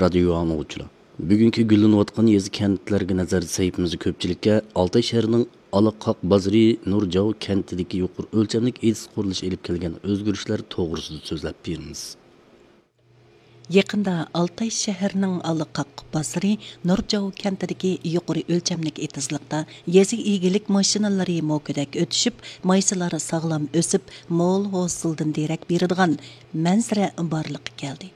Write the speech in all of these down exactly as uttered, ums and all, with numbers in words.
رادىيو ئاڭلىغۇچىلار، بۈگۈنكى گۈللىنىۋاتقان يېزا، كەنتلەرگە نەزەر سەھىپىمىزدە كۆپچىلىككە ئالتاي شەھىرىنىڭ ئالاقاق بازىرى نۇرجاۋ كەنتىدىكى يۇقىرى ئۆلچەملىك ئېتىز قۇرۇلۇشى ئېلىپ كەلگەن ئۆزگىرىشلەر توغرىسىدا سۆزلەپ بېرىمىز. يېقىندا ئالتاي شەھىرىنىڭ ئالاقاق بازىرى نۇرجاۋ كەنتىدىكى يۇقىرى ئۆلچەملىك ئېتىزلىقتا يېزا ئىگىلىك ماشىنىلىرى موكىدەك ئۆتۈشۈپ، مايسىلار ساغلام ئۆسۈپ، مول ھوسۇلدىن دېرەك بېرىدىغان مەنزىرە بارلىققا كەلدى.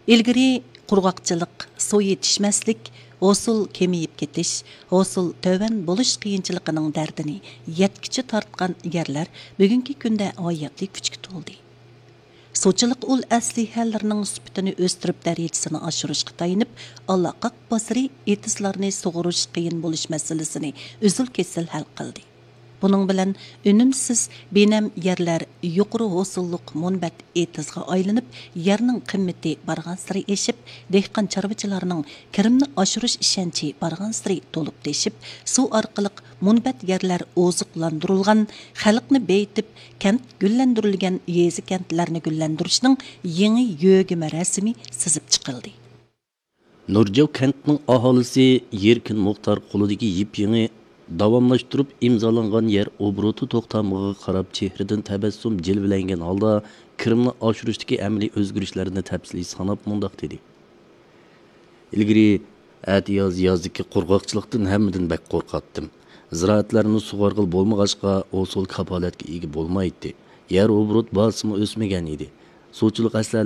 ئىلگىرى قۇرغاقچىلىق، سۇ يېتىشمەسلىك، ھوسۇل كېمىيىپ كېتىش، ھوسۇل تۆۋەن بولۇش قىيىنچىلىقىنىڭ دەردىنى يەتكۈچە تارتقان يەرلەر بۈگۈنكى كۈندە ھاياتىي كۈچكە تولدى. سۇچىلىق ئۇل ئەسلىھەلىرىنىڭ سۈپىتىنى ئۆستۈرۈپ، دەرىجىسىنى ئاشۇرۇشقا تايىنىپ، ئالاقاق بازىرى ئېتىزلارنى سۇغۇرۇش قىيىن بولۇش مەسىلىسىنى ئۈزۈل-كېسىل ھەل قىلدى. بۇنىڭ بىلەن ئۈنۈمسىز بىنەم يەرلەر يۇقىرى ھوسۇللۇق مۇنبەت ئېتىزغا ئايلىنىپ، يەرنىڭ قىممىتى بارغانسېرى ئېشىپ، دېھقان چارۋىچىلارنىڭ كىرىمنى ئاشۇرۇش ئىشەنچى بارغانسېرى تولۇپ تېشىپ، سۇ ئارقىلىق مۇنبەت يەرلەر ئوزۇقلاندۇرۇلغان، خەلقنى بېيىتىپ، كەنت گۈللەندۈرۈلگەن يېزا، كەنتلەرنى گۈللەندۈرۈشنىڭ يېڭى يۆگىمە رەسىمى سىزىپ چىقىلدى. نۇرجاۋ كەنتىنىڭ ئاھالىسى يېركىن مۇختار قولىدىكى يىپ-يېڭى داۋاملاشتۇرۇپ ئىمزالانغان يەر ئوبوروتى توختامىغا قاراپ، چېھرىدىن تەبەسسۇم جىلۋىلەنگەن ھالدا كىرىمنى ئاشۇرۇشتىكى ئەمەلىي ئۆزگىرىشلەرنى تەپسىلىي ساناپ مۇنداق دېدى: ئىلگىرى ئەتىياز يازدىكى قۇرغاقچىلىقتىن ھەممىدىن بەك قورقاتتىم. زىرائەتلەرنى سۇغارغىلى بولمىغاچقا، ھوسۇل كاپالەتكە ئىگە بولمايتتى. يەر ئوبوروت بازىسىمۇ ئۆسمىگەن ئىدى. سۇچىلىق ئەسلىھەلىرى